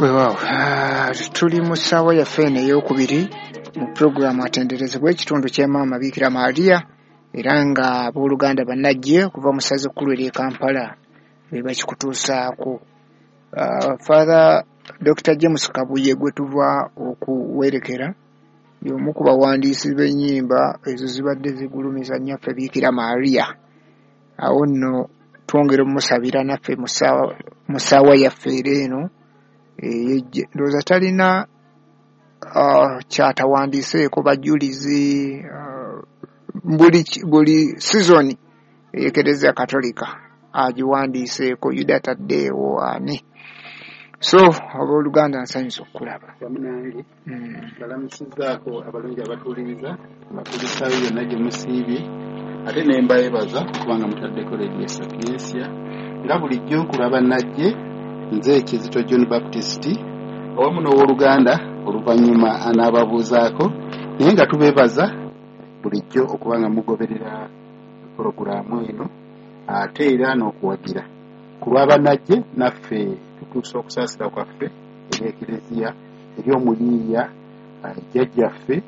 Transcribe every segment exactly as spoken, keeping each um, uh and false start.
Weewaawo, tuli mu ssaawa yaffe eno ey'okubiri mu pulogulaamu Atenderezebwa, ekitundu kya Maama Biikira Maria, era nga abooluganda bannajje okuva mu ssaza ekkulu ery'e Kampala be bakikutuusaako. Father Doctor James Kabuye gwe tuva okuwerekera y'omu ku bawandiisi b'ennyimba ezo zibadde zigulumiza nnyaffe Biikira Maria. Awo nno twongera omusabira naffe mu ssaawa yaffe era eno ey'eggye. Ndowooza talina kyatawandiiseeko, bajulizi buli buli sizoni ey'Ekereziya Katolika agiwandiiseeko, Yuda Taddeewo ani. So abooluganda, nsanyusa okukulaba. Wamu nange balamusizaako abalungi abatuuliriza batulisaayo yonna gye musiibye, ate ne mbayebaza kubanga mutaddeko Radio Sapientia nga bulijjo. Ku lwa bannajje, nze Kizito John Baptist awamu n'owooluganda oluvannyuma anaababuuzaako, naye nga tubeebaza bulijjo okuba nga mugoberera pulogulaamu eno ate era n'okuwagira. Ku lwabannajje naffe tutuusa okusaasira kwaffe eri Ekereziya, eri omuyiiya jjajjaffe,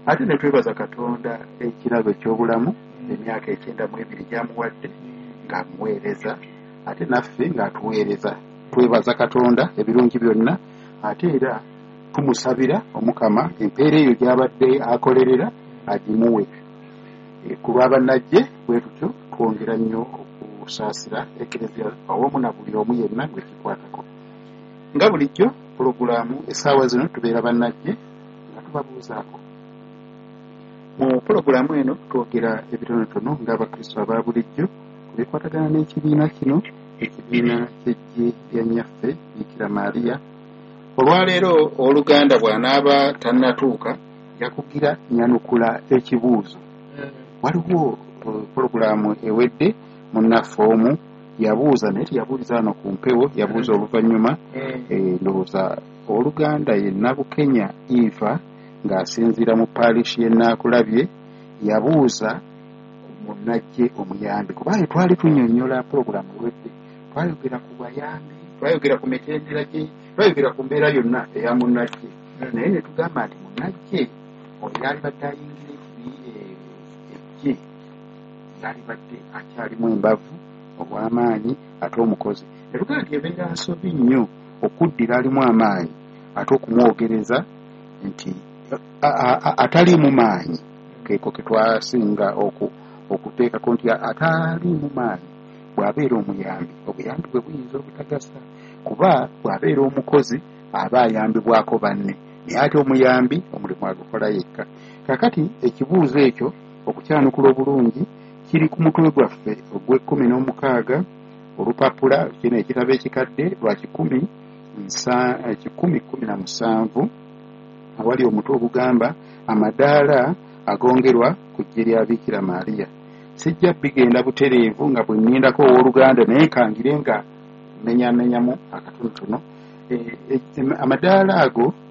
ate ne twebaza Katonda ekirabo eky'obulamu, emyaka ekyenda mu ebiri gy'amuwadde ng'amuweereza ate naffe ng'atuweereza. Twebaza Katonda ebirungi byonna, ate era tumusabira Omukama empeera eyo gy'abadde akolerera agimuwe. Ku lwabannajje bwe tutyo twongera nnyo okusaasira Ekereziya awamu na buli omu yenna gwe kikwatako. Nga bulijjo, pulogulaamu essaawa zino tubeera bannajje nga tubabuuzaako. Mu pulogulaamu eno twogera ebitonotono ng'Abakristo aba bulijjo ku bikwatagana n'ekibiina kino, ekibiina ky'eggye lya nnyaffe Biikira Maria. Olwaleero oluganda bw'anaaba tannatuuka, yakugira nyanukula ekibuuzo. Waliwo pulogulaamu ewedde munnaffe omu yabuuza, naye teyabuuliza wano ku mpewo, yabuuza oluvannyuma. Ndowooza oluganda ye Nabukenya Eva ng'asinziira mu paalishi y'e Naakulabye, yabuuza ku munnajje omuyambi, kubanga twali tunnyonnyola pulogulaamu ewedde, twayogera ku bayambi, twayogera ku mitendera gye, twayogera ku mbeera yonna eya munnajje, naye ne tugamba nti munnajje oyo yalibadde ayingira eggye yalibadde akyalimu embavu, obw'amaanyi ate omukozi. Ne tugamba nti ebeera nsobi nnyo okuddira alimu amaanyi ate okumwogereza nti ataliimu maanyi. Keeko ke twasinga okuteekako nti ataliimu maanyi bw'abeera omuyambi, obuyambi bwe buyinza obutagasa, kuba bw'abeera omukozi aba ayambibwako banne, naye ate omuyambi omulimu agukola yekka. Kaakati ekibuuzo ekyo okukyanukula obulungi kiri ku mutwe gwaffe ogw'ekkumi n'omukaaga, olupapula kino ekitabo ekikadde lwa kikumi kikumi kkumi na musanvu, awali omutwe ogugamba amadaala agongerwa ku ggye lya Biikira Maria. Sijja bigenda butereevu nga bwe nnindako owooluganda, naye kangire nga menyamenyamu akatonotono amadaala ago.